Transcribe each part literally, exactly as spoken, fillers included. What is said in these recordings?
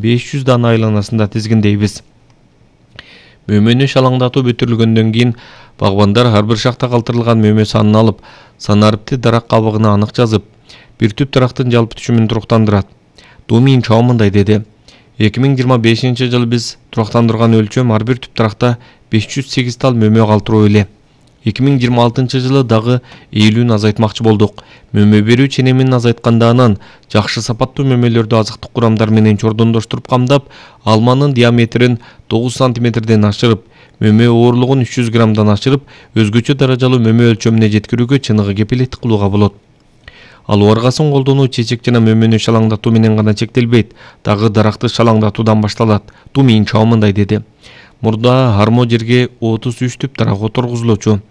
беш жүз дана айланасында тизгиндейбиз. Мөмөнү шалаңдатуу бүтүрүлгөндөн кийин багбандар ар бир шакта калтырылган мөмө санын алып, санарыпты дарак кабыгына анык жазып, бир түп дарактын жалпы түшүмүн туруктандырат. Думин Чао мындай деди. эки миң жыйырма бешинчи жылы биз туруктандырган өлчөм ар бир түп даракта беш жүз сегиз тал мөмө калтыруу эле. эки миң жыйырма алтынчы жылы дагы эйлүүнү азайтмакчы болдук. Мөмө берүү ченемин азайткандан жакшы сапаттуу мөмөлөрдү азыктык курамдар менен чордондоштуруп камдап, алманын диаметрин тогуз сантиметрден ашырып, мөмө оорлугун үч жүз граммдан ашырып, өзгөчө даражалуу мөмө өлчөмүнө жеткирүүгө чыныгы кепилеттик кылууга болот. Ал уаргасын колдонуу чечек жана мөмөнү шалаңдатуу менен гана чектелбейт, дагы даракты шалаңдатуудан башталат. Думин Чао мындай деди. Мурда армо жерге отуз үч түп дарак отургузулчу.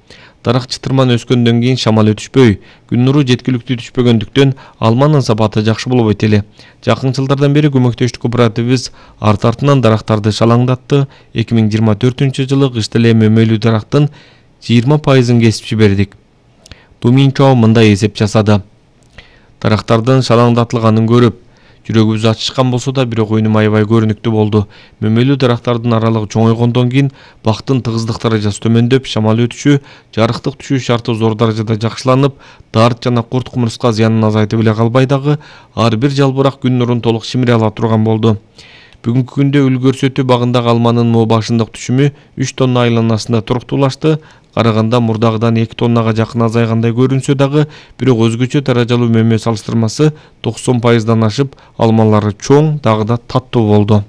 Дарак чытырман өскөндөн кийин шамал өтүшпөй, күн нуру жеткиликтүү түшпөгөндүктөн алманын сапаты жакшы болбойт эле. Жакын жылдардан бери көмөктөштүк кооперативибиз арт артынан дарактарды шалаңдатты. эки миң жыйырма төртүнчү жылы кышта эле мөмөлүү дарактын жыйырма пайызын кесип жибердик. Думин Чао мындай эсеп жасады. Дарактардын шалаңдатылганын көрүп, жүрөгүбүз ачышкан болсо да, бирок өнүм аябай көрүнүктүү болду. Мөмөлүү дарактардын аралыгы чоңойгондон кийин бактын тыгыздык даражасы төмөндөп, шамал өтүшү, жарыктык түшүү шарты зор даражада жакшыланып, дарт жана курт кумурска зыянын азайтып эле калбай дагы, ар бир жалбырак күн нурун толук шимире ала турган болду. Бүгүнкү күндө Үл көрсөтүү багындагы алманын мо башындык түшүмү үч тонна айланасында туруктуулашты. Караганда мурдагыдан эки тоннага жакын азайгандай көрүнсө дагы, бирок өзгөчө даражалуу мөмө салыштырмасы токсон пайыздан ашып, алмалары чоң, дагы да таттуу болду.